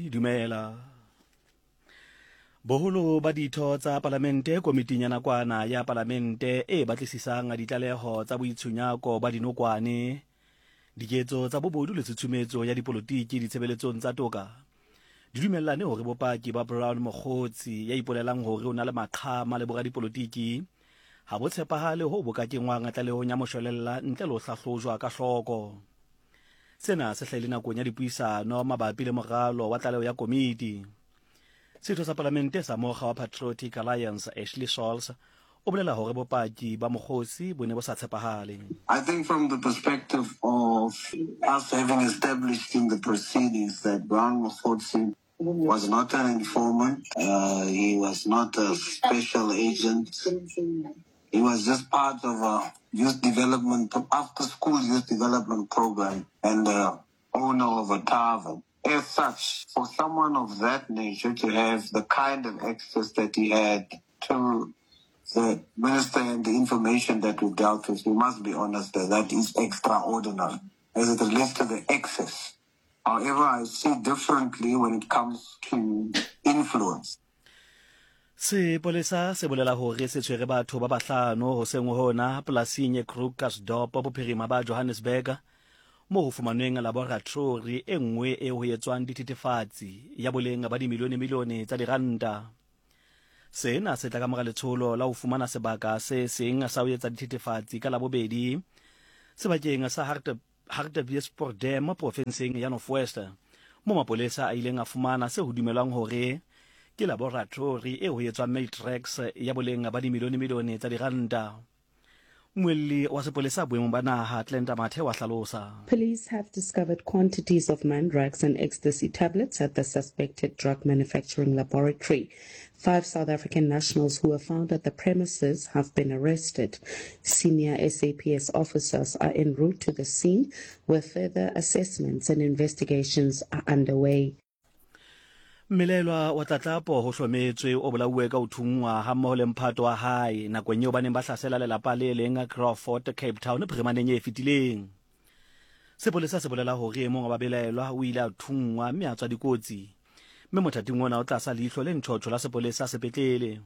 Dumela. Boholo ba ditho tsa palamente komiting ya nakwana ya palamente e batlisisang ditlaleho tsa boitshunyako ba dinokwane, diketso tsa bobodu le tshutshumetso ya dipolotiki ditshebeletsong tsa toka di dumellane hore bopaki ba Brown Mogotsi ya ipolelang hore o na le maqhama le boradipolotiki ha bo tshepahale hoo bo ka kengwang tlalehong ya moshwelella ntle le ho hlahlojwa ka hloko. Sena se hlahile nakong ya dipuisano mabapi le moralo wa tlaleho ya komiti. Setho sa palamente sa mokga wa Patriotic Alliance Ashley Sauls o bolela hore bopaki ba Mokgosi bo ne bo sa tshepahale. I think from the perspective of us having established in the proceedings that Brown Mogotsi was not an informant, uh, he was not a special agent, he was just part of a youth development, after school youth development program and the owner of a tavern. As such, for someone of that nature to have the kind of access that he had to the minister and the information that we dealt with, we must be honest that that is extraordinary as it relates to the access. However, I see differently when it comes to influence. Sepolesa se bolela hore se tshwere batho ba bahlano hoseng hona polasing e Krugersdorp bophirima ba Johannesburg moo ho fumanweng laboratori e nngwe e ho etswang dithethefatsi ya boleng ba dimilione-milione tsa diranta. Sena se tla ka mora letsholo la ho fumana sebaka se seng sa ho etsa dithethefatsi ka Labobedi sebakeng sa Hartbeespoort Dam profenseng ya North West, moo mapolesa a ileng a fumana se ho dumelwang hore ke laboratori e ho etswang Matrax ya boleng ba dimilione-milione tsa diranta. Mmuelli wa sepolesa boemong ba naha, Glenda Mathe wa hlalosa. Police have discovered quantities of mandrax and ecstasy tablets at the suspected drug manufacturing laboratory. Five South African nationals who were found at the premises have been arrested. Senior SAPS officers are en route to the scene where further assessments and investigations are underway. Mmelaelwa wa tlatlapo ho hlometswe o bolauwe ka ho thunngwa hammoho le mphato wa hae nakong eo ba neng ba hlasela lelapa le leng Crawford, Cape Town phirimaneng e fetileng. Sepolesa se bolela hore e mong wa babelaelwa o ile a thunngwa mme a tswa dikotsi, mme mothating ona o tlasa leihlo le ntjhotjho la sepolesa sepetlele.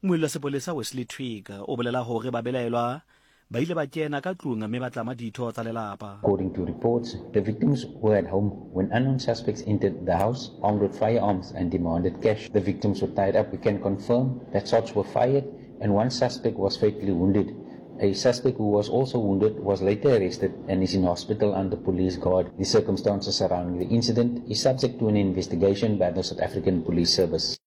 Mmuelli wa sepolesa Wesley Twigg o bolela hore babelaelwa ba ile ba kena ka tlung mme ba tlama ditho tsa lelapa. According to reports, the victims were at home when unknown suspects entered the house armed with firearms and demanded cash. The victims were tied up. We can confirm that shots were fired and one suspect was fatally wounded. A suspect who was also wounded was later arrested and is in hospital under police guard. The circumstances surrounding the incident is subject to an investigation by the South African Police Service.